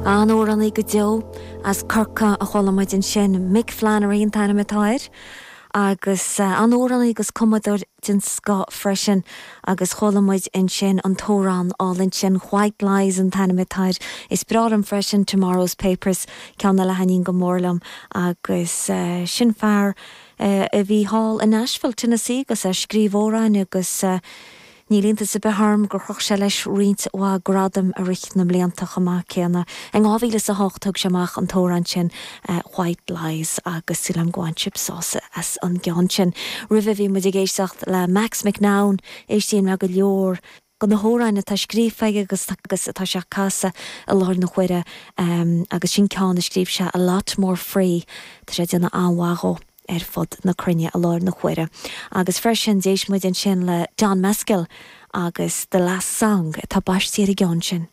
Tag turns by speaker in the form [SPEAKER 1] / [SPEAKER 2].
[SPEAKER 1] An-amhránaí go deo as Corcaigh a chuala muid ansin, Mick Flannery an t-ainm atá air, agus an-amhránaí agus cumadóir den scoth freisin agus chuala muid ansin an t-amhrán álainn sin White Lies an t-ainm atá air. Is breá liom freisin Tomorrow's Papers, ceann eile a thaitníonn go mór liom agus sin fear a bhí thall i Nashville, Tennessee agus é ag scríobh amhráin agus Níl iontas ar bith orm gur chroch sé leis roinnt mhaith gradam i rith na mblianta chomh maith céanna. In 2008 thug sé amach an t-amhrán sin White Lies agus súil agam go bhain sibh sásamh as an gceann sin. Roimhe bhí muid ag éisteacht le Max McNown, éistím le go leor de na hamhráin atá scríofa aige agus agus atá sé ag casadh i láthair na huaire agus sin ceann a scríobh sé A Lot More Free, tá sé ag déanamh an-mhaith dhó. ar fud na cruinne i láthair na huaire. Agus freisin, d'éist muid ansin le Don Mescal agus The Last Song atá baistí ar an gceann sin.